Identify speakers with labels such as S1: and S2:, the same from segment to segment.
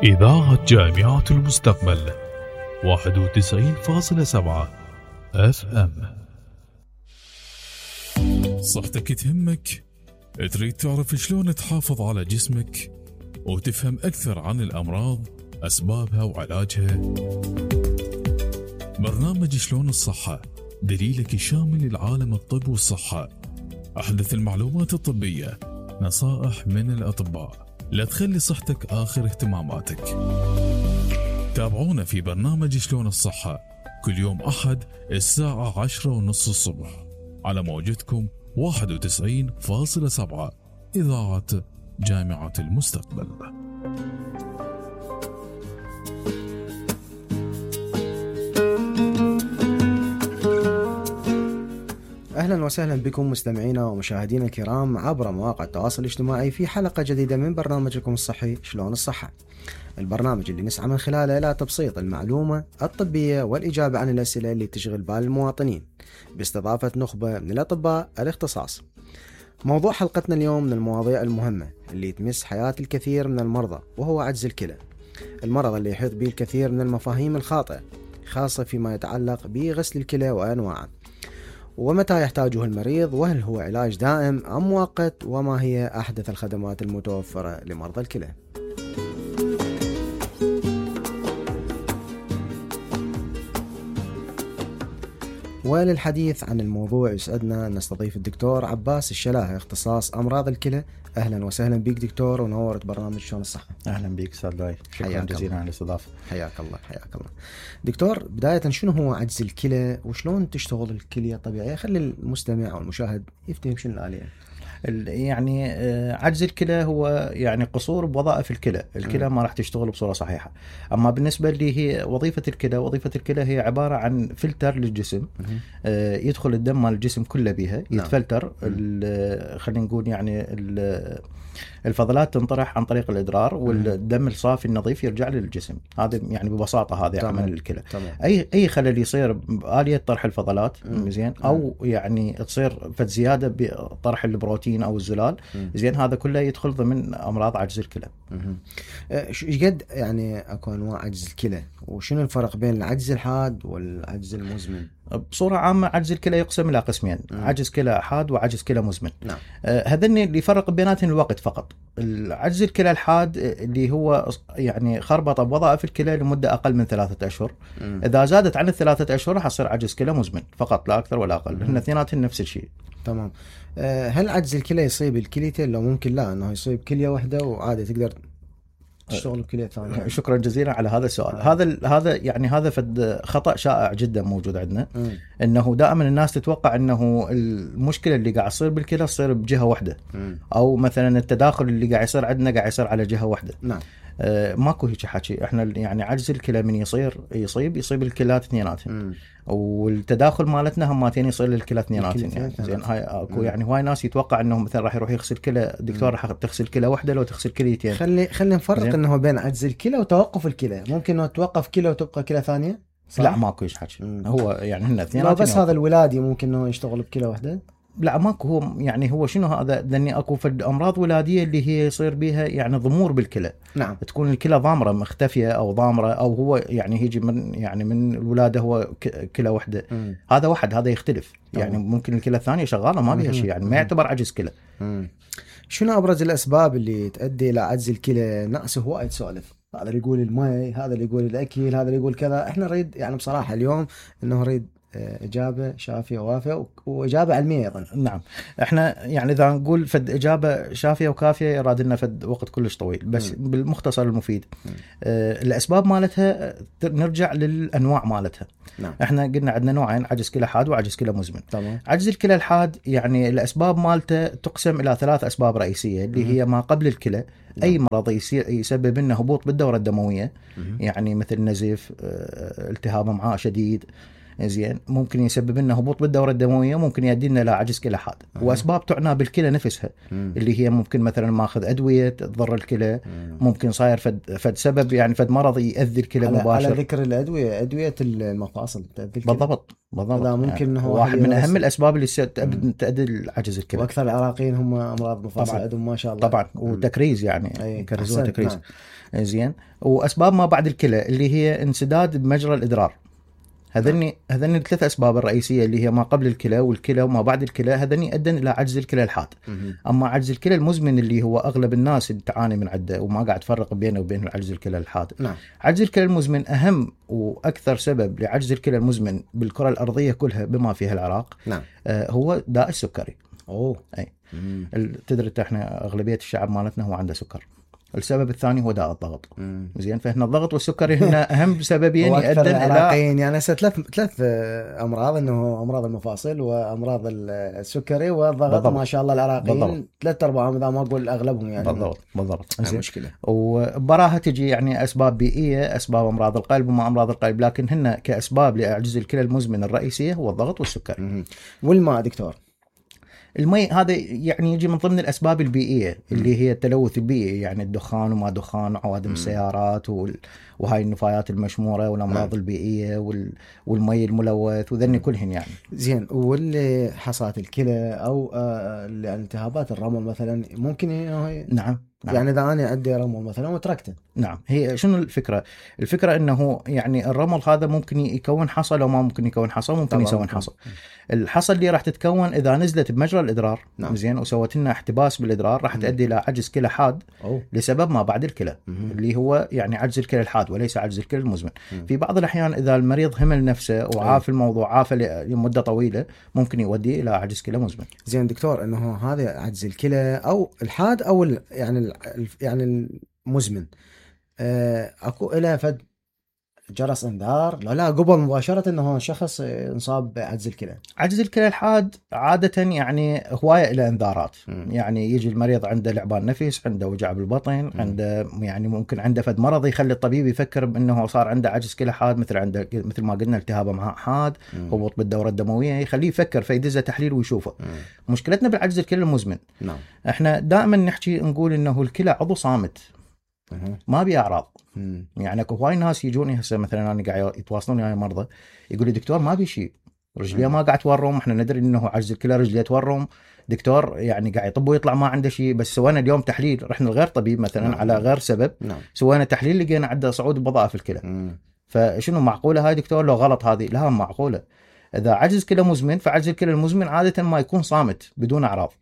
S1: إذاعة جامعة المستقبل 91.7 FM. صحتك تهمك؟ تريد تعرف شلون تحافظ على جسمك وتفهم أكثر عن الأمراض، أسبابها وعلاجها؟ برنامج شلون الصحة دليلك الشامل لعالم الطب والصحة، أحدث المعلومات الطبية، نصائح من الأطباء، لا تخلي صحتك آخر اهتماماتك. تابعونا في برنامج شلون الصحة كل يوم أحد الساعة 10:30 الصبح على موجتكم 91.7 إذاعة جامعة المستقبل.
S2: أهلا وسهلا بكم مستمعينا ومشاهدينا الكرام عبر مواقع التواصل الاجتماعي في حلقة جديدة من برنامجكم الصحي شلون الصحة، البرنامج اللي نسعى من خلاله إلى تبسيط المعلومة الطبية والإجابة عن الأسئلة اللي تشغل بال المواطنين باستضافة نخبة من الأطباء الاختصاص. موضوع حلقتنا اليوم من المواضيع المهمة اللي تمس حياة الكثير من المرضى، وهو عجز الكلى، المرض اللي يحيط به الكثير من المفاهيم الخاطئة، خاصة فيما يتعلق بغسل الكلى وأنواعه، ومتى يحتاجه المريض، وهل هو علاج دائم أم مؤقت، وما هي أحدث الخدمات المتوفرة لمرضى الكلى. وللحديث عن الموضوع يسعدنا أن نستضيف الدكتور عباس الشلاهي، اختصاص أمراض الكلى. أهلا وسهلا بك دكتور، ونورت برنامج شلون الصحة.
S3: أهلا بك أستاذ لاي، شكرا جزيلا على الاستضافة.
S2: حياك الله. حياك الله دكتور. بداية شنو هو عجز الكلى وشلون تشتغل الكلية الطبيعية؟ خلي المستمع أو المشاهد يفتهم شنو الآلية.
S3: يعني عجز الكلى هو يعني قصور بوظائف الكلى ما راح تشتغل بصورة صحيحة. أما بالنسبة اللي هي وظيفة الكلى هي عبارة عن فلتر للجسم، يدخل الدم مال الجسم كله بيها، يتفلتر خلينا نقول يعني الفضلات تنطرح عن طريق الإدرار، والدم الصافي النظيف يرجع للجسم. هذا يعني ببساطة هذا عمل الكلى. أي خلل يصير بآلية طرح الفضلات زين، أو يعني تصير فد زيادة بطرح البروتين أو الزلال زين، هذا كله يدخل ضمن أمراض عجز الكلى.
S2: ايش قد يعني اكو انواع عجز الكلى، وشنو الفرق بين العجز الحاد والعجز المزمن؟
S3: بصورة عامة عجز الكلى يقسم إلى قسمين، عجز كلى حاد وعجز كلى مزمن.
S2: نعم.
S3: هذني اللي يفرق بيناتهم الوقت فقط. العجز الكلى الحاد اللي هو يعني خربطة بوظائف الكلى لمدة أقل من 3 أشهر. إذا زادت عن 3 أشهر راح يصير عجز كلى مزمن فقط، لا أكثر ولا أقل. هن اثنيناتهم نفس الشيء.
S2: تمام. هل عجز الكلى يصيب الكليتين، لو ممكن لا انه يصيب كلية واحدة وعادي تقدر تشتغل بكلية ثانية؟
S3: شكرا جزيلا على هذا السؤال. هذا يعني هذا فد خطأ شائع جدا موجود عندنا. انه دائما الناس تتوقع انه المشكلة اللي قاعد يصير بالكلى تصير بجهة واحدة، او مثلا التداخل اللي قاعد يصير عندنا قاعد يصير على جهة واحدة.
S2: نعم.
S3: ماكو هيك حكي. احنا يعني عجز الكلى من يصيب الكلات اثنيناتهم، والتداخل مالتنا هماتين يصير للكلى اثنيناتهم. يعني زين، هاي اكو يعني هواي ناس يتوقع انه مثلا راح يروح يغسل كلى دكتور راح تغسل كلى واحده لو تغسل كليتين.
S2: خلي نفرق انه بين عجز الكلى وتوقف الكلى. ممكن انه توقف كلى وتبقى كلى ثانيه؟ صح؟
S3: لا ماكو هيك حكي. هو يعني هن اثنيناتهم
S2: بس هذا الولادي ممكن انه يشتغل بكلى واحده.
S3: لا ماكو. هو يعني هو شنو هذا، لاني اكو فد امراض ولاديه اللي هي يصير بيها يعني ضمور بالكلى.
S2: نعم.
S3: تكون الكلى ضامره مختفيه او ضامره، او هو يعني يجي من الولاده هو كلى واحده. هذا واحد، هذا يختلف. يعني ممكن الكلى الثانيه شغاله ما بيها شيء، يعني ما يعتبر عجز كلى.
S2: شنو ابرز الاسباب اللي تؤدي الى عجز الكلى؟ ناس هوايد سوالف، هذا اللي يقول المي، هذا اللي يقول الاكل، هذا اللي يقول كذا. احنا نريد يعني بصراحه اليوم انه نريد إجابة شافية ووافية وإجابة علمية أيضا.
S3: نعم. إحنا يعني إذا نقول فد إجابة شافية وكافية يراد لنا فد وقت كلش طويل، بس بالمختصر المفيد. الأسباب مالتها نرجع للأنواع مالتها.
S2: نعم.
S3: إحنا قلنا عندنا نوعين، عجز كلى حاد وعجز كلى مزمن.
S2: طبعا.
S3: عجز الكلى الحاد يعني الأسباب مالته تقسم إلى 3 أسباب رئيسية، اللي هي ما قبل الكلى. أي مرض يسبب لنا هبوط بالدورة الدموية، يعني مثل نزيف، التهاب امعاء شديد، زين ممكن يسبب لنا هبوط بالدوره الدمويه، ممكن يؤدي لنا الى عجز كلى حاد. واسباب تعنى بالكلى نفسها اللي هي ممكن مثلا ماخذ ادويه تضر الكلى، ممكن صاير فد سبب يعني فد مرض يؤذي الكلى مباشر.
S2: على ذكر الادويه، ادويه المفاصل تؤذي الكلى.
S3: بالضبط
S2: هذا ممكن
S3: يعني واحد من اهم الاسباب اللي تؤدي لعجز الكلى.
S2: واكثر العراقيين هم امراض مفاصل عندهم ما شاء الله
S3: طبعا، وتكريز يعني يكرزون تكريز.
S2: نعم.
S3: زين. واسباب ما بعد الكلى اللي هي انسداد بمجرى الادرار. هذني الثلاث اسباب الرئيسيه اللي هي ما قبل الكلى والكلى وما بعد الكلى، هذني ادن الى عجز الكلى الحاد. اما عجز الكلى المزمن اللي هو اغلب الناس اللي تعاني من عده وما قاعد تفرق بينه وبين عجز الكلى الحاد.
S2: نعم.
S3: عجز الكلى المزمن اهم واكثر سبب لعجز الكلى المزمن بالكره الارضيه كلها بما فيها العراق.
S2: نعم.
S3: هو داء السكري.
S2: اي
S3: تدري احنا اغلبيه الشعب مالتنا هو عنده سكر. السبب الثاني هو داء الضغط. زين. فهنا الضغط والسكري هنا اهم سببين يؤدن
S2: الى يعني ثلاث امراض، انه امراض المفاصل وامراض السكري والضغط. بالضبط. ما شاء الله العراقيين 3/4 اذا ما اقول اغلبهم يعني.
S3: بالضبط.
S2: مشكله.
S3: وبراها تجي يعني اسباب بيئيه، اسباب امراض القلب وما امراض القلب، لكن هنا كاسباب لعجز الكلى المزمن الرئيسيه هو الضغط والسكري.
S2: والماء دكتور؟
S3: المي هذا يعني يجي من ضمن الأسباب البيئية اللي هي التلوث البيئي، يعني الدخان وما دخان وعوادم السيارات وهاي النفايات المشمورة والأمراض البيئية والمي الملوث وذني كلهن يعني.
S2: زين. واللي حصات الكلى أو الالتهابات الرمل مثلا ممكن
S3: نعم.
S2: يعني إذا أنا عندي رمل مثلا وتركته.
S3: نعم. هي شنو الفكرة؟ الفكرة إنه يعني الرمل هذا ممكن يكون حصى، لو ما ممكن يكون حصى ممكن يسوون حصى. الحصى اللي راح تتكون إذا نزلت بمجرى الإدرار.
S2: نعم.
S3: زين. وسوت لنا احتباس بالإدرار راح تؤدي إلى عجز كلى حاد لسبب ما بعد الكلى اللي هو يعني عجز الكلى الحاد وليس عجز الكلى المزمن. في بعض الأحيان إذا المريض همل نفسه وعاف الموضوع، عاف لمدة طويلة، ممكن يؤدي إلى عجز كلى مزمن.
S2: زين دكتور، إنه هذا عجز الكلى أو الحاد أو يعني المزمن، اكو إلى فد جرس انذار لا قبل مباشرة انه شخص انصاب بعجز الكلى؟
S3: عجز الكلى الحاد عادة يعني هواية الى انذارات. يعني يجي المريض عنده لعبان نفس، عنده وجع بالبطن، عنده يعني ممكن عنده فد مرض يخلي الطبيب يفكر بانه صار عنده عجز كلى حاد، مثل ما قلنا التهاب امعاء حاد، هبوط بالدورة الدموية، يخليه يفكر فيدزه تحليل ويشوفه. مشكلتنا بالعجز الكلى المزمن احنا دائما نحكي نقول انه الكلى عضو صامت ما بي اعراض. يعني اكو هواي ناس يجوني هسه مثلا انا قاعد يتواصلون وياي مرضى يقول لي دكتور ما بي شيء، رجليه ما قاعد تورم، احنا ندري انه عجز الكلى رجليه تورم دكتور، يعني قاعد يطب ويطلع ما عنده شيء، بس سوينا اليوم تحليل، رحنا لغير طبيب مثلا على غير سبب، سوينا تحليل لقينا عنده صعود بوظائف الكلى. فشنو معقوله هاي دكتور؟ لو غلط هذه؟ لا معقوله. اذا عجز كلى مزمن فعجز الكلى المزمن عاده ما يكون صامت بدون اعراض.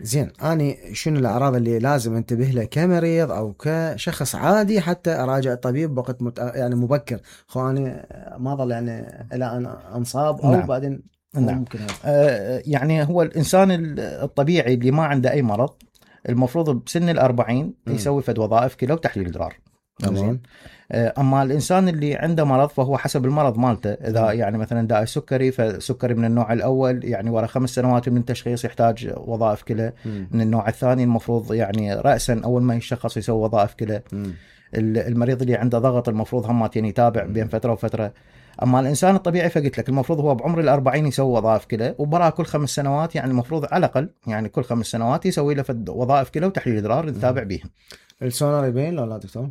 S2: زين. أنا شنو الأعراض اللي لازم انتبه لها كمريض أو كشخص عادي حتى أراجع الطبيب بوقت يعني مبكر؟ أنا ما ظل يعني إلى أن أنصاب أو بعدين ممكن
S3: يعني هو الإنسان الطبيعي اللي ما عنده أي مرض المفروض بسن 40 يسوي فد وظائف كلى وتحليل إدرار. زين. اما الانسان اللي عنده مرض فهو حسب المرض مالته، اذا يعني مثلا داء السكري فالسكري من النوع الاول يعني ورا 5 سنوات من التشخيص يحتاج وظائف كلى. من النوع الثاني المفروض يعني راسا اول ما يشخص يسوي وظائف كلى. المريض اللي عنده ضغط المفروض همات يعني يتابع بين فتره وفتره. اما الانسان الطبيعي فقلت لك المفروض هو بعمر 40 يسوي وظائف كلى، وبراه كل 5 سنوات يعني المفروض على الاقل يعني كل 5 سنوات يسوي له وظائف كلى وتحليل ادرار نتابع بيهم.
S2: السونار يبين لا دكتور؟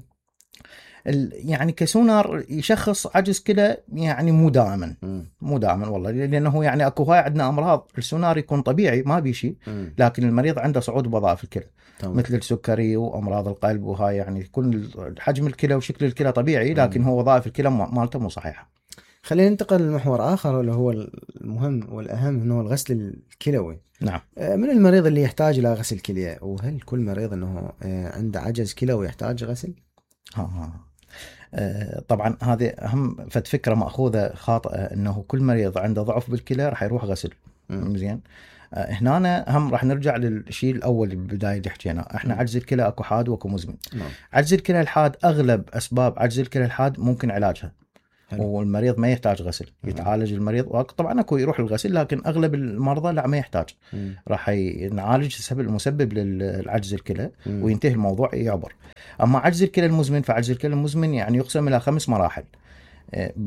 S3: يعني كسونار يشخص عجز كلى يعني مو دائما والله، لانه يعني اكو هاي عندنا امراض السونار يكون طبيعي ما بي شيء، لكن المريض عنده صعود بوظائف الكلى مثل السكري وامراض القلب وهاي يعني يكون حجم الكلى وشكل الكلى طبيعي، لكن هو وظائف الكلى مالته مو صحيحه.
S2: خلينا ننتقل لمحور اخر اللي هو المهم والاهم انه الغسل الكلوي.
S3: نعم.
S2: من المريض اللي يحتاج الى غسل كليه؟ وهل كل مريض انه عنده عجز كلوي يحتاج غسل؟
S3: طبعا هذه أهم فكرة مأخوذة خاطئة انه كل مريض عنده ضعف بالكلى راح يروح غسل. زين. هنا هم راح نرجع للشيء الاول بالبدايه اللي حكينا، احنا عجز الكلى اكو حاد واكو مزمن. عجز الكلى الحاد اغلب اسباب عجز الكلى الحاد ممكن علاجها والمريض ما يحتاج غسل، يتعالج المريض. طبعا اكو يروح الغسل، لكن اغلب المرضى لا ما يحتاج، راح نعالج المسبب للعجز الكلى وينتهي الموضوع يعبر. اما عجز الكلى المزمن فعجز الكلى المزمن يعني يقسم الى 5 مراحل.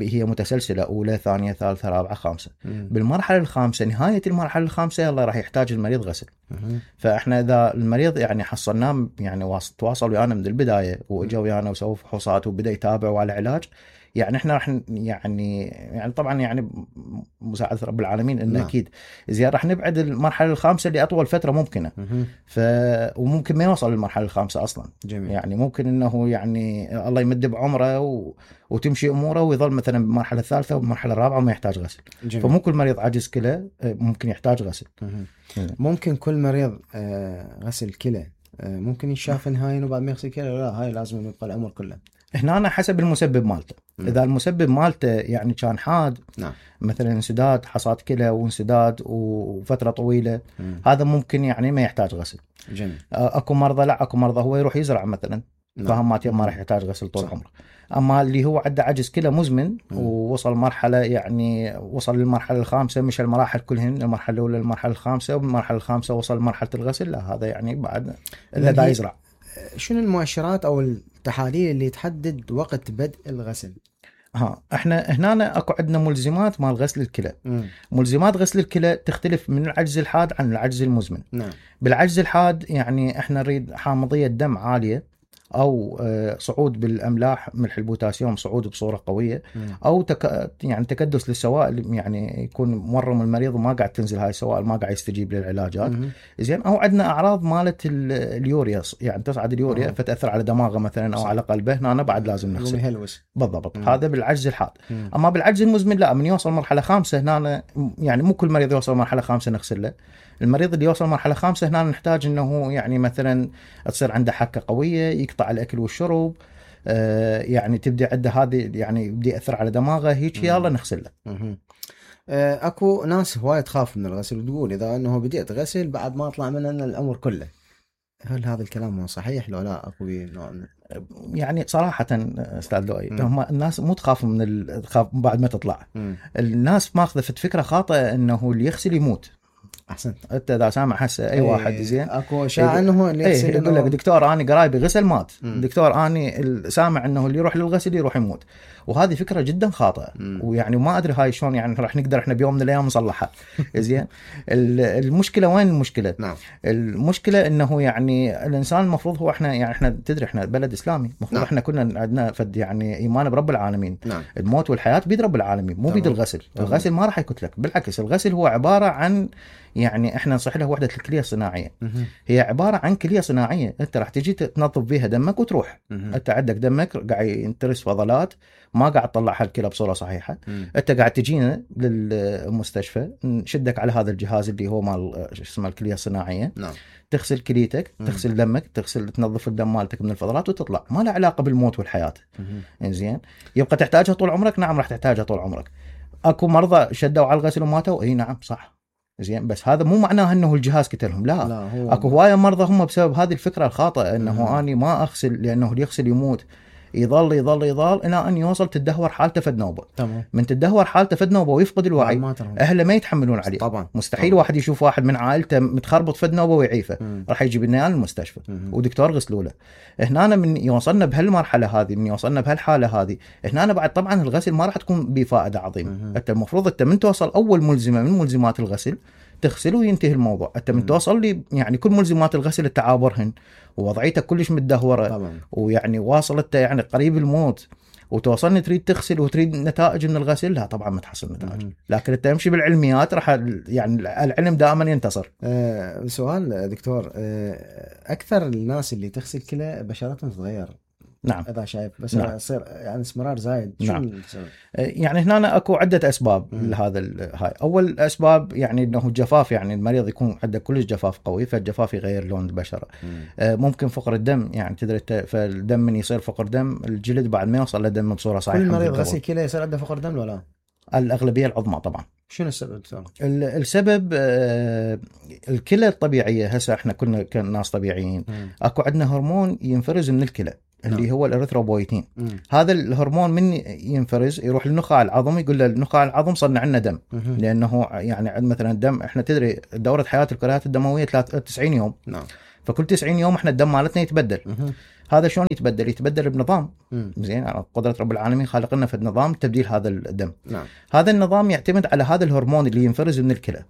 S3: هي متسلسله، اولى ثانيه ثالثه رابعه خامسه.
S2: مم.
S3: بالمرحله الخامسه، نهايه المرحله الخامسه، يلا راح يحتاج المريض غسل.
S2: مم.
S3: فاحنا اذا المريض يعني حصلناه يعني تواصل ويانا من البدايه واجا ويانا وسوى فحوصات وبدا يتابع وعلى علاج، يعني احنا راح يعني طبعا يعني مساعده رب العالمين انه
S2: نعم.
S3: اكيد زين راح نبعد المرحله الخامسه لاطول فتره ممكنه.
S2: مم.
S3: وممكن ما يوصل للمرحله الخامسه اصلا.
S2: جميل.
S3: يعني ممكن انه يعني الله يمد بعمره وتمشي اموره ويظل مثلا بالمرحله الثالثه والمرحله الرابعه وما يحتاج غسل.
S2: جميل.
S3: فمو كل مريض عاجز كلى ممكن يحتاج غسل.
S2: مم. ممكن كل مريض غسل كلى ممكن يشاف نهاية وبعد ما يغسل كلى، لا هاي لازم يبقى العمر كله.
S3: هنا أنا حسب المسبب مالته. اذا المسبب مالته يعني كان حاد،
S2: نعم،
S3: مثلا انسداد حصاد كلى وانسداد وفتره طويله، هذا ممكن يعني ما يحتاج غسل.
S2: جميل.
S3: اكو مرضى لا، اكو مرضى هو يروح يزرع مثلا، فهم ما راح يحتاج غسل طول عمره. اما اللي هو عنده عجز كلى مزمن ووصل مرحله، يعني وصل للمرحله الخامسه، مش المراحل كلهن، المرحله الاولى المرحله الخامسه، وبالمرحله الخامسه وصل لمرحله الغسل، لا هذا يعني بعد اذا دا يزرع.
S2: شنو المؤشرات او التحاليل اللي تحدد وقت بدء الغسل؟
S3: احنا هنا اكو عندنا ملزمات مال غسل الكلى. ملزمات غسل الكلى تختلف من العجز الحاد عن العجز المزمن.
S2: نعم.
S3: بالعجز الحاد يعني احنا نريد حامضيه دم عاليه، او صعود بالاملاح، ملح البوتاسيوم صعود بصوره قويه، او يعني تكدس للسوائل، يعني يكون مورم المريض وما قاعد تنزل هاي السوائل، ما قاعد يستجيب للعلاجات زين. او عندنا اعراض مالت اليوريا، يعني تصعد اليوريا فتاثر على دماغه مثلا او على قلبه، هنا بعد لازم نغسل. بالضبط. هذا بالعجز الحاد. اما بالعجز المزمن لا، من يوصل مرحله خامسه هنا، يعني مو كل مريض يوصل مرحله خامسه نغسل له. المريض اللي يوصل مرحله خامسه هنا نحتاج انه يعني مثلا تصير عنده حكه قويه، يقطع الاكل والشرب، يعني تبدي عنده هذه، يعني يبدي ياثر على دماغه هيك، يلا نغسل له.
S2: اكو ناس هوايه تخاف من الغسل وتقول اذا انه بديت غسل بعد ما اطلع منه الامر كله. هل هذا الكلام صحيح لو لا؟ اكو نوع
S3: يعني صراحه استاذ لؤي، هم الناس مو تخاف من الخاف بعد ما تطلع. الناس ماخذه فكره خاطئه انه اللي يغسل يموت.
S2: احسنت.
S3: انت اذا سامع هسه اي واحد زين
S2: اكو اشاعه انه اللي يغسل
S3: يقول لك دكتور اني قرايبي غسل مات، دكتور اني سامع انه اللي يروح للغسل يروح يموت، وهذه فكره جدا خاطئه. ويعني ما ادري هاي شلون يعني راح نقدر احنا بيوم من الايام نصلحها. زين. المشكله وين المشكله؟
S2: نعم.
S3: المشكله انه يعني الانسان المفروض هو احنا تدري احنا بلد اسلامي، المفروض احنا كنا عندنا فد يعني ايمان برب العالمين.
S2: نعم.
S3: الموت والحياه بيد رب العالمين، مو بيد الغسل. الغسل ما راح يقتلك، بالعكس الغسل هو عباره عن، يعني احنا نصح له وحده الكليه الصناعيه. هي عباره عن كليه صناعيه، انت راح تجي تنظف بيها دمك وتروح. انت عندك دمك قاعد ينترس فضلات، ما قاعد تطلعها الكلى بصوره صحيحه. انت قاعد تجينا للمستشفى، نشدك على هذا الجهاز اللي هو مال اسمه الكليه الصناعيه.
S2: نعم.
S3: تغسل كليتك، تغسل دمك، تنظف الدم مالتك من الفضلات وتطلع، ما له علاقه بالموت والحياه. انزين. يبقى تحتاجها طول عمرك؟ نعم راح تحتاجها طول عمرك. اكو مرضى شدوا على الغسل وماتوا؟ اي نعم صح. زين. بس هذا مو معناه انه الجهاز قتلهم، لا اكو هوايه مرضى هم بسبب هذه الفكره الخاطئه انه اني ما اغسل لانه اللي يغسل يموت، يظل يظل يظل الى ان يوصل تدهور حالته فد نوبه.
S2: تمام.
S3: من تدهور حالته فد نوبه ويفقد الوعي، اهله ما يتحملون عليه.
S2: طبعا.
S3: مستحيل واحد يشوف واحد من عائلته متخربط فد نوبه ويعيفه، راح يجيب لنا المستشفى ودكتور غسلوا له. هنا من يوصلنا بهالمرحله هذه، من يوصلنا بهالحاله هذه، هنا بعد طبعا الغسل ما راح تكون بفائده عظيمه. انت المفروض انت من توصل اول ملزمه من ملزمات الغسل تغسل وينتهي الموضوع. انت من توصل لي يعني كل ملزمات الغسل التعابرهن ووضعيتك كلش متدهوره طبعا. ويعني واصلت يعني قريب الموت، وتوصلني تريد تغسل وتريد نتائج من الغسل، لا طبعا ما تحصل نتائج. لكن انت امشي بالعلميات راح يعني العلم دائما ينتصر.
S2: سؤال دكتور، اكثر الناس اللي تغسل كلى بشرتهم تتغير.
S3: نعم.
S2: اذا شايف بس يصير يعني اسمرار زايد.
S3: نعم. يعني هنا اكو عده اسباب لهذا هاي. اول اسباب يعني انه الجفاف، يعني المريض يكون عنده كل جفاف قوي، فالجفاف يغير لون البشره. ممكن فقر الدم، يعني تدري فالدم من يصير فقر دم الجلد بعد ما يوصل لدم بصوره صحيحه.
S2: كل مريض غسل كلى يصير عنده فقر دم ولا؟
S3: الاغلبيه العظمى طبعا.
S2: شنو السبب دكتور؟
S3: السبب الكلى الطبيعيه. هسه احنا كنا كناس طبيعيين، اكو عندنا هرمون ينفرز من الكلى اللي هو الاريثروبويتين. هذا الهرمون من ينفرز يروح للنخاع العظم، يقول له النخاع العظم صنع لنا دم. لانه يعني مثلا الدم، احنا تدري دوره حياه الكريات الدمويه 93 يوم.
S2: نعم.
S3: فكل 90 يوم احنا الدم مالتنا يتبدل. هذا شلون يتبدل بنظام زين، قدرة رب العالمين خالق لنا في النظام تبديل هذا الدم.
S2: نعم.
S3: هذا النظام يعتمد على هذا الهرمون اللي ينفرز من الكلى.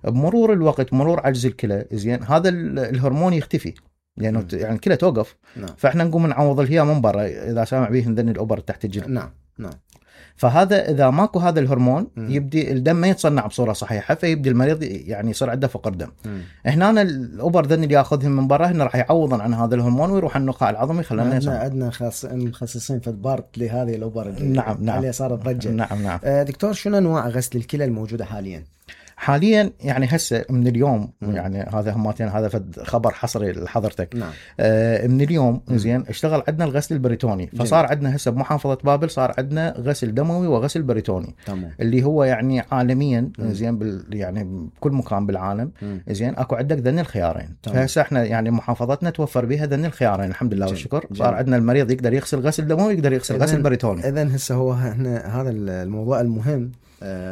S3: بمرور الوقت، مرور عجز الكلى زين، هذا الهرمون يختفي لانه يعني الكلى توقف.
S2: نعم.
S3: فاحنا نقوم نعوض الهيا من برا، اذا سامع به ذن الأوبر تحت الجلد.
S2: نعم.
S3: فهذا اذا ماكو هذا الهرمون يبدي الدم ما يتصنع بصوره صحيحه، فيبدي المريض يعني يصير عنده فقر دم. هنا الأوبر ذن اللي ياخذهم من برا هنا راح يعوضا عن هذا الهرمون ويروح النخاع العظمي خلينا
S2: عندنا مخصصين في البارت لهذه الأوبر.
S3: نعم.
S2: اللي صارت ضجه.
S3: نعم.
S2: دكتور، شنو انواع غسل الكلى الموجوده حاليا
S3: يعني هسه من اليوم يعني هذا هماتين، هذا خبر حصري لحضرتك.
S2: نعم.
S3: من اليوم زين اشتغل عندنا الغسل البريتوني. فصار عندنا هسه بمحافظه بابل صار عندنا غسل دموي وغسل بريتوني.
S2: تمام.
S3: اللي هو يعني عالميا زين يعني بكل مكان بالعالم زين اكو عندك ذن الخيارين. فهسه احنا يعني محافظتنا توفر بها ذن الخيارين الحمد لله والشكر. صار عندنا المريض يقدر يغسل غسل دموي يقدر يغسل غسل بريتوني.
S2: اذا هسه هو هذا الموضوع المهم،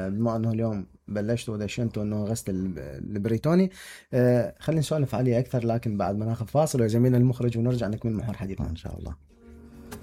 S2: بما انه اليوم بلشتوا ودشنتوا انه غسل البريتوني. خلينا نسولف عليه اكثر لكن بعد ما ناخذ فاصل وزميلنا المخرج ونرجع نكمل محور حديثنا
S3: ان شاء الله.